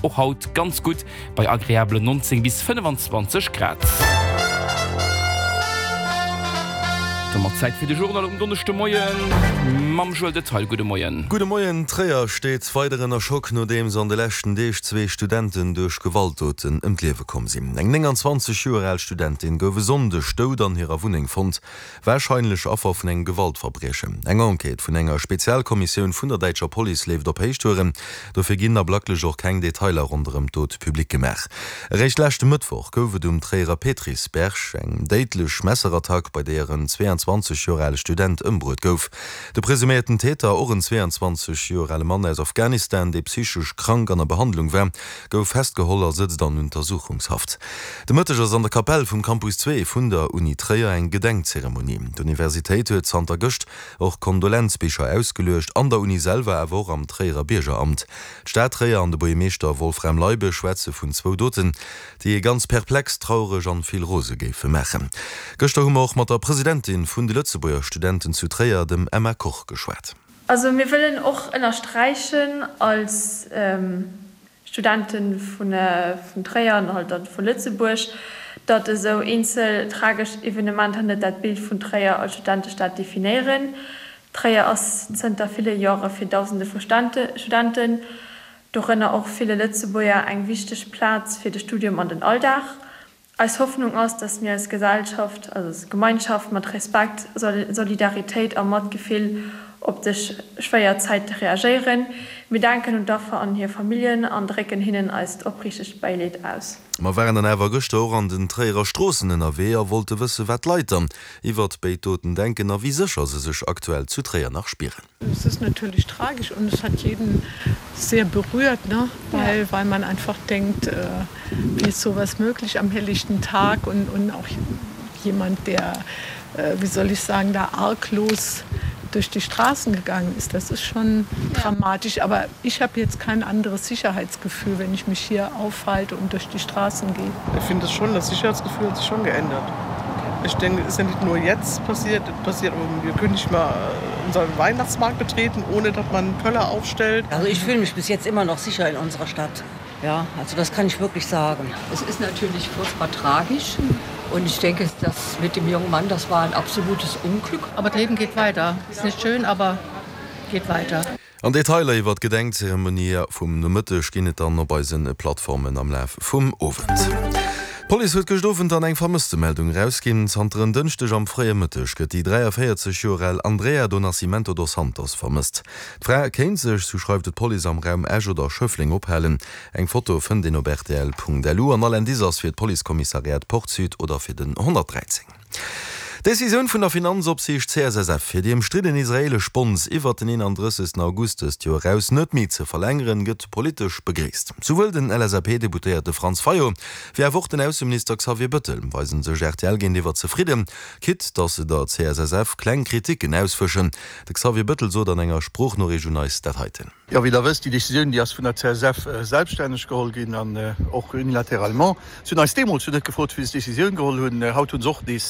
och haut ganz gutt bei agreabelen 19 bis 25 Grad. Domat Zäit fir de Journal um Donneschdemoien mam Joël Detaille. Gudde Moien. Gudde Moien. Tréier steet weider ënner Schock, nodeems an de leschten Deeg zwee Studenten duerch Gewaltdoten ëm d'Liewe komm sinn. Eng 29 Joer al Studentin gouf e Sonndeg dout an hirer Wunneng fonnt. Warscheinlech Affer vun engem Gewaltverbriechen. Eng Enquête vun enger Spezialkommissioun vun der däitscher Police leeft op Héichtouren. Dofir ginn ablacklech och keng Detailer ronderëm d'Dot public gemaach. Eréischt leschte Mëttwoch gouf et um Tréierer Petrisberg eng déidlech Messerattack, bei deeër en 22 Joer ale Student ëmbruet gouf. De presuméierten Täter, och en 22 Joer ale Mann aus Afghanistan, dee psychesch krank an a Behandlung war, gouf festgeholl a sëtzt an Untersuchungshaft. De Mëtteg ass an der Kapell vum Campus 2 vun der Uni Tréier eng Gedenkzeremonie. D'Universitéit huet zanter gëscht och Kondolenzbicher ausgeluecht, an der Uni selwer, awer och am Tréierer Biergeramt. D'Stad Tréier an de Buergermeeschter Wolfram Leibe schwätze vun zwou Doten, déi ee ganz perplex, traureg an vill rose géife maachen. Gëschter hu mer och mat der Presidentin vun de Lëtzebuerger Studenten zu Tréier, dem Emma Koch, geschwat. Also mir wëllen och ënnersträichen als Studente vun Tréier an halt dann vu Lëtzebuerg, datt esou eenzel tragesch Evenementer net dat Bild vun Tréier als Studentestad definéieren. Tréier ass zënter ville Jore fir Dausende vu Studenten, dorënner och ville Lëtzebuerger, eng wichteg Plaz fir de Studium an den Alldag. Eis Hoffnung ass, dass mir als Gesellschaft, also als Gemeinschaft mat Respekt, Solidaritéit a Matgefill op des schwéier Zäite reagéieren. Mir denken un d'Affer an hir Familljen an drécken hinnen eist opriichtegt Bäileed aus. Mer waren dann awer gëschter och an den Tréierer Stroossen ënnerwee a wollte wësse wat d'Leit dann iwwert béid Doten denken a wéi sécher se sech aktuell zu Tréier nach spieren. Es ist natürlich tragisch und es hat jeden sehr berührt, ne? Weil, weil man einfach denkt, äh, wie ist sowas möglich am helllichten Tag und, und auch jemand, der, äh, wie soll ich sagen, da arglos durch die Straßen gegangen ist. Das ist schon ja. dramatisch. Aber ich habe jetzt kein anderes Sicherheitsgefühl, wenn ich mich hier aufhalte und durch die Straßen gehe. Ich finde es schon, das Sicherheitsgefühl hat sich schon geändert. Ich denke, es ist ja nicht nur jetzt passiert, passiert aber wir können nicht mal äh, unseren Weihnachtsmarkt betreten, ohne dass man Pöller aufstellt. Also ich fühle mich bis jetzt immer noch sicher in unserer Stadt. Ja, also das kann ich wirklich sagen. Es ist natürlich furchtbar tragisch und ich denke, das mit dem jungen Mann, das war ein absolutes Unglück. Aber das Leben geht weiter. Ist nicht schön, aber geht weiter. An Detailer iwwer d'Gedenkzeremonie vum Nomëtteg ginn et dann op eise Plattformen am Laf vum Owend. D'Police huet gëscht Owend dann eng Vermësstemeldung erausginn. Zanter en Dënschdeg am fréie Mëtteg gëtt déi 43 Joer al Andrea do Nascimento dos Santos vermësst. D'Fra kéint sech, sou schreift et d'Police, am Raum Esch oder Schëffleng ophalen. Eng Foto fënnt een op rtl.lu an all Indice ass fir d'Policekommissariat Port-Sud oder fir den 113. D'Decisioun vun der Finanzopsiicht CSSF, fir déi ëmstridden israeelesch Bonds iwwert den 31. August dëst Joer eraus net méi ze verlängeren, gëtt politesch begréisst. Souwuel den LSAP-Deputéierte Franz Fayot, wéi awer och den Ausseminister Xavier Bëttel weise sech rtl géintiwwer zefridden, quitte datt se der CSSF kleng Kriticken ausfëschen. De Xavier Bëttel sot an enger Sproochnoriicht un eis dat heiten. Jo, wéi Der wësst, déi Décisioun, déi ass vun der CSF selbststänneg geholl ginn an och unilatéralement. Si hunn eis deemools jo net gefrot, wéi se d'Décisioun geholl hunn. Haut hu se och nees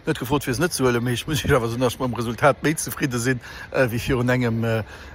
net gefrot, fir se net ze huelen. Mee ech muss Iech awer soen, datt ech mam Resultat méi zefridde sinn wéi virun engem,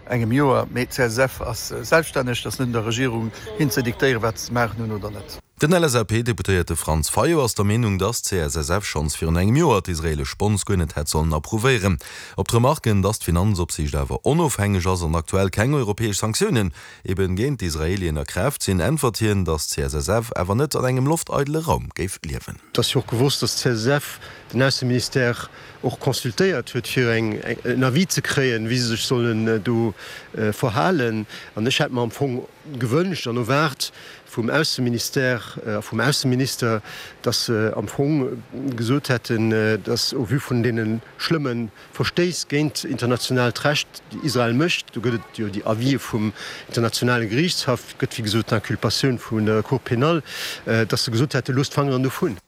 engem Joer. Mee d'CSF ass selbststänneg. Et ass net un der Regierung, hinnen ze diktéieren, wat se ze maachen hunn oder net. Den LSAP-Deputéierte Franz Fayot ass der Meenung, datt d'CSSF schonns virun engem Joer d'israeelesch Bonds guer net hätt sollen approuvéieren. Op d'Remarken, datt d'Finanzopsiicht awer onofhängeg ass an aktuell keng europäesch Sanktiounen eben géint d'Israelien a Kraaft sinn, äntwert hien, datt d'CSSF awer net an engem lofteidele Raum géif liewen. Et ass jo och gewosst, datt d'CSSF den Ausseministère och consultéiert huet, fir en Avis ze kréien, wéi se sech sollen do verhalen. An ech hätt mer am Fong gewënscht an erwaart vum Ausseministère a vum Ausseminister, dass se am Fong gesot hätten, dass au vu vun deene schlëmme Verstéiss géint internationaalt Recht, déi Israel mécht, do gëtt et jo déi Avisë vum internationale Geriichtshaff, gëtt wéi gesot d'Inculpatioun vun der Cour pénale, dass se gesot hätten, loosst d'Fangeren dovun.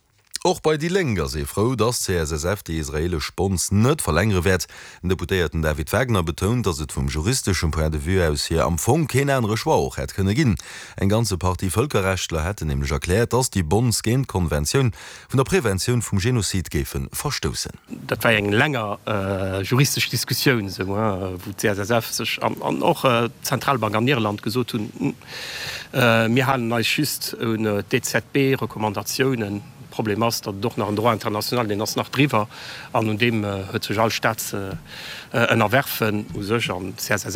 Och bei déi Lénk ass ee frou, datt d'CSSF déi israeelesch Bonds net verlängere wäert. Den Deputéierten David Wagner betount, datt et vum juristeschem Point de vue aus hier am Fong keen anere Choix och hätt kënne ginn. Eng ganze Partie Vëlkerrechtler hätten nämlech erkläert, datt déi Bonds géint d'Konventioun vun der Preventioun vum Genozid géife verstoussen. Dat war eng länger juristesch Diskussioun, esou, wou d'CSSF sech an och d'Zentralbank an Irland gesot hunn, Mir halen eis just un d'EZB-Recommandatiounen. Problem ass, datt et och nach en Droit international, deen ass nach driwwer, an un deem huet sech all Staat ze ënnerwerfen u sech. An d'CSSF.